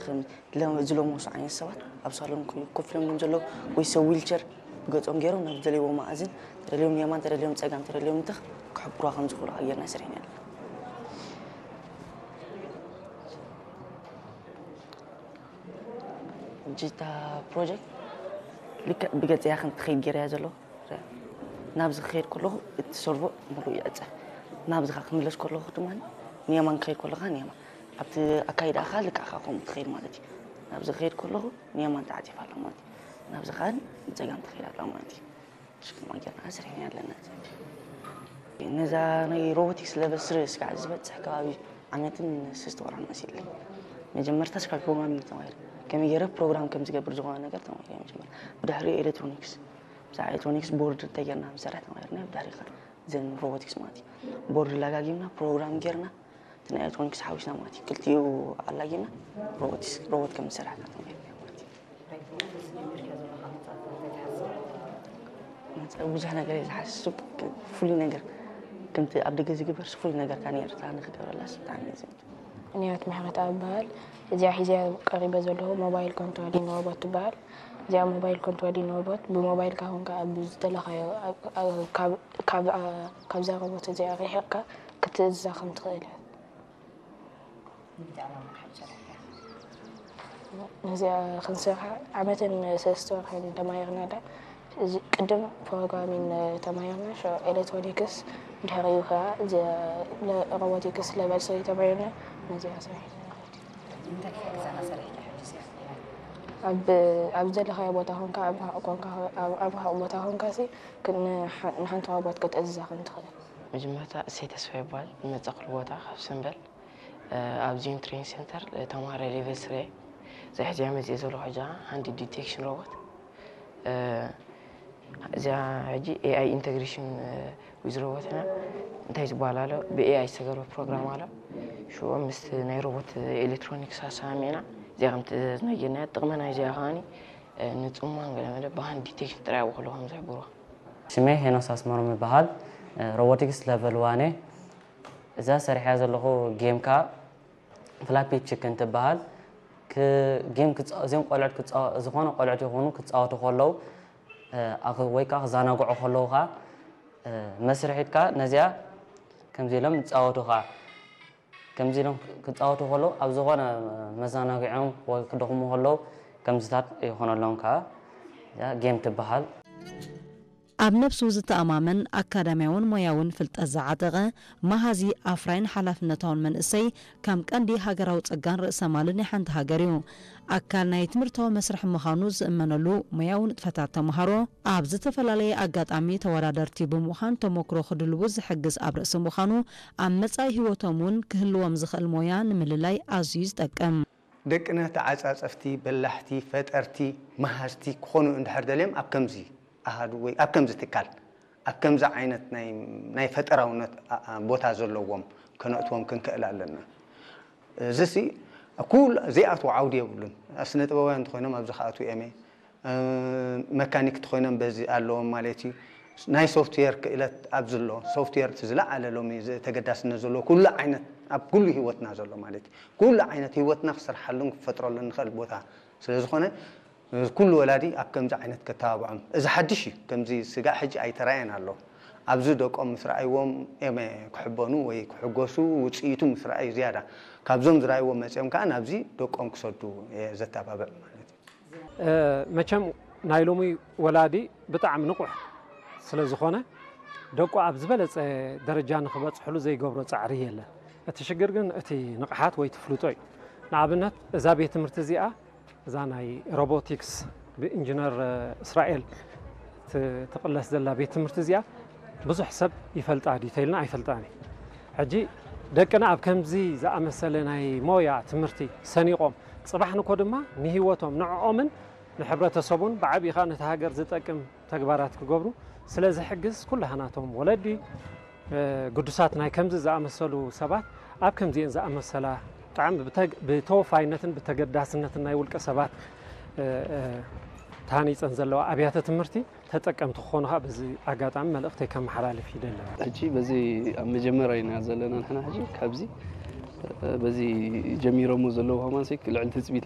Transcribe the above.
ከም ለ- ዝለመሱ ዓይነት ሰባት ኣብ ሳሎን ኮ- ኮፍ ኢሎም እዮም ዘለዉ፣ ወይ ሰብ ዊልቸር ብገጾም ገይሮም ናብ ዝደለይዎ መኣዝን ተደልዮም የማን፣ ተደልዮም ጸጋም፣ ተደልዮም ምትኽ ክሕብሩዋ ከም ዝኽእሉ ጌርና ሰሪሕና ኣለና። ሕጂ እታ ፕሮጀክት ልክዕ ብገጽ እያ ከም ትኸይድ ገይረ እያ ዘለኹ። ናብዚ ክኸይድ ከለኹ እቲ ሰርቮ ሙሉእ ይዕጸፍ። ናብዚ ከዓ ክምለስ ከለኹ ድማ ንየማን ክኸይድ ከለኻ ንየማን ኣብቲ ኣካይዳኻ ልክዕኻ ከምኡ ትኸይድ ማለት እዩ። ናብዚ ክኸይድ ከለኹ ንየማን ተዓጺፋ ኣላ ማለት እዩ። ናብዚ ከዓ ንጸጋም ትኸይድ ኣላ ማለት እዩ። ሽክማ ጌርና ስርሕና ኣለና። ነዛ ናይ ሮቦቲክስ ለቨል ስሪ እስካዕ ዝበፅሕ ከባቢ ዓመትን ስስተ ወርሓን መሲለይ። መጀመርታ እስካዕ ፕሮግራሚንግ ተማሂረ። ከመይ ገይረ ፕሮግራም ከም ዝገብር ዝኾነ ነገር ተማሂረ መጀመርታ። ብድሕሪ ኤሌክትሮኒክስ፣ ብዛዕባ ኤሌክትሮኒክስ ቦርድ እንታይ ጌርና ምሰርሕ ተማሂርና። ብድሕሪ ከ ዘን ሮቦቲክስ ማለት እዩ። ቦርድ ላጋጊምና ፕሮግራም ጌርና እቲ ናይ ኤሌክትሮኒክስ ሓዊስና ማለት እዩ። ክልቲኡ ኣላጊና ሮቦቲክስ ሮቦት ከም ዝሰርሕ ኢና ተማሂርና ማለት እዩ። ብዙሕ ነገር እየ ዝሓስብ። ፍሉይ ነገር ከምቲ ኣብ ደገ ዝግበርስ ፍሉይ ነገር ካን ኤርትራ ንክገብረላስ ብጣዕሚ እየ ዝምነ። ንያት ምሕረት ኣብ በሃል። እዚኣ ሒዚያ ቀሪበ ዘለኹ ሞባይል ኮንትሮሊን ሮቦት ትበሃል። እዚኣ ሞባይል ኮንትሮሊን ሮቦት ብሞባይልካ ኮንካ ኣብ ዝደለኻዮ ኣብ- ኣብ- ካብ- ካብ- ካብዛ ሮቦት እዚኣ ርሒቕካ ክትእዝዛ ከም ትኽእል እያ። እዚኣ ክንሰርሓ ዓመትን ሰለስተ ወርሕን ተማሂርና ዳ። እዚ ቅድም ፕሮግራሚን ተማሂርና፣ ሸ ኤሌክትሮኒክስ፣ ድሕሪኡ ከዓ እዚ ለ- ሮቦቲክስ ለቨል ስሪ ተማሂርና። ነዚኣ ሰሪሕና ማለት እዩ። እንታይ ክሕግዘና ሰሪሕኪ ሕጂ እዚኣ? ኣብ ኣብ ዘለኻዮ ቦታ ኮንካ ኣብ ርሑቕ ኮንካ ኣብ ኣብ ርሑቕ ቦታ ኮንካ ሲ ክ- ንሓ- ንሓንቲ ሮቦት ክትእዝዛ ከም ትኽእል። መጀመርታ እሰይ ተስፋ ይበሃል። ዝመፀእኩሉ ቦታ ካብ ሰምበል ኣብዚ ዩን ትሬኒንግ ሴንተር ተማሃራይ ሌቨል ስሪ እየ። እዛ ሕዚኣ መፅእ ዘለኹ ሕጂ ሃንድ ዲቴክሽን ሮቦት እዚኣ ሕጂ ኤኣይ ኢንተግሬሽን ዊዝ ሮቦትና እንታይ ዝበሃል ኣሎ ብኤኣይ ዝተገርበ ፕሮግራም ኣሎ። ሽዑ ምስ ናይ ሮቦት ኤሌክትሮኒክስ ኣሰማሚዕና እዚኣ ከም ትእዛዝ ናይ ጌርናያ ጥቕሚ ናይ እዚኣ ከዓኒ ንፅማን ገለመለ ብሃንድ ዲቴክሽን ጥራይ ኣብኡ ከለዉ ከም ዝሕብሩዋ። ሽመይ ሄኖስ ኣስመሮም ይበሃል። ሮቦቲክስ ለቨል ዋን እየ። እዛ ሰሪሐያ ዘለኹ ጌም ከኣ ፍላፒ ቺክን ትበሃል። ክ- ጌም ክፃ- እዚኦም ቆልዑት ክፃ- ዝኾነ ቆልዑት ይኹኑ ክፃወቱ ከለዉ እ፣ ኣኽ- ወይ ከዓ ክዘናግዑ ከለዉ ከዓ እ፣ መስርሒትካ ነዚኣ ከምዚ ኢሎም ይፃወቱ ከዓ ከምዚ ኢሎም ክፃወቱ ከለዉ ኣብ ዝኾነ መዘናግዒኦም ወይ ክደኽሙ ከለዉ ከምዚታት ይኾነሎም ከዓ እዚኣ ጌም ትበሃል። ኣብ ነብሱ ዝተኣማመን ኣካዳሚያውን ሞያውን ፍልጠት ዝዓጠቐ መሃዚ ኣፍራይን ሓላፍነታውን መንእሰይ ከም ቀንዲ ሃገራዊ ጸጋን ርእሰ ማልን ናይ ሓንቲ ሃገር እዩ። ኣካል ናይ ትምህርታዊ መስርሕ ምዃኑ ዝእመነሉ ሞያዊ ንጥፈታት ተምሃሮ ኣብ ዝተፈላለየ ኣጋጣሚ ተወዳደርቲ ብምዃን ተመክሮ ክድልቡ ዝሕግዝ ኣብ ርእሲ ምዃኑ ኣብ መጻኢ ህይወቶም እውን ክህልዎም ዝኽእል ሞያ ንምልላይ ኣዝዩ ዝጠቅም። ደቅና ተዓፃፀፍቲ፣ በላሕቲ፣ ፈጠርቲ፣ መሃዝቲ ክኾኑ እንድሕር ደልዮም ኣብ ከምዚ ኣሃዱ ወይ ኣብ ከምዚ ትካል ኣብ ከምዚ ዓይነት ናይ ናይ ፈጠራውነት ኣ- ኣ- ቦታ ዘለዎም ከነእትዎም ክንክእል ኣለና። እዚሲ ኩሉ ዘይኣትዎ ዓውዲ የብሉን። ስነ ጥበባውያን እንተኾይኖም ኣብዚ ክኣትዉ እዮም። መካኒክ እንተኾይኖም በዚ ኣለዎም ማለት እዩ። ናይ ሶፍትዌር ክእለት ኣብዚ ኣሎ። ሶፍትዌር እቲ ዝለዓለ ሎሚ ተገዳስነት ዘለዎ ኩሉ ዓይነት ኣብ ኩሉ ህይወትና ዘሎ ማለት እዩ። ኩሉ ዓይነት ህይወትና ክሰርሓሉን ክፈጥረሉን ንኽእል ቦታ ስለ ዝኾነ ኩሉ ወላዲ ኣብ ከምዚ ዓይነት ከተባብዖም። እዚ ሓድሽ እዩ። ከምዚ ስጋዕ ሕጂ ኣይተራእየን ኣሎ። ኣብዚ ደቆም ምስ ረኣይዎም እዮም ክሕበኑ ወይ ክሕጎሱ፣ ውፅኢቱ ምስ ረኣዩ ዝያዳ። ካብዞም ዝረኣይዎም መፂኦም ከዓ ናብዚ ደቆም ክሰዱ እየ ዘተባብዕ ማለት እዩ። መቸም ናይ ሎሚ ወላዲ ብጣዕሚ ንቑሕ ስለ ዝኾነ ደቁ ኣብ ዝበለፀ ደረጃ ንኽበፅሕሉ ዘይገብሮ ፃዕሪ የለን። እቲ ሽግር ግን እቲ ንቕሓት ወይ ትፍልጦ እዩ። ንኣብነት እዛ ቤት ትምህርቲ እዚኣ እዛ ናይ ሮቦቲክስ ብኢንጂነር እስራኤል ትቕለስ ዘላ ቤት ትምህርቲ እዚኣ ብዙሕ ሰብ ይፈልጣ ድዩ ተይልና ኣይፈልጣን እዩ። ሕጂ ደቅና ኣብ ከምዚ ዝኣመሰለ ናይ ሞያ ትምህርቲ ሰኒቖም ፅባሕ ንኮ ድማ ንህይወቶም ንዕኦምን ንሕብረተሰቡን ብዓብዪ ከዓ ነቲ ሃገር ዝጠቅም ተግባራት ክገብሩ ስለ ዝሕግዝ ኩላህናቶም ወለዲ ግዱሳት ናይ ከምዚ ዝኣመሰሉ ሰባት ኣብ ከምዚኤን ዝኣመሰላ ብጣዕሚ ብተወፋይነትን ብተገዳስነትን ናይ ውልቀ ሰባት ተሃኒፀን ዘለዋ ኣብያተ ትምህርቲ ተጠቀምቲ ክኾኑ ከዓ በዚ ኣጋጣሚ መልእኽተይ ከመሓላልፍ ይደሊ። ሕጂ በዚ ኣብ መጀመርያ ኢና ዘለና ንሕና ሕጂ ካብዚ በዚ ጀሚሮሞ ዘለዉ ከማን ልዕሊ ትፅቢት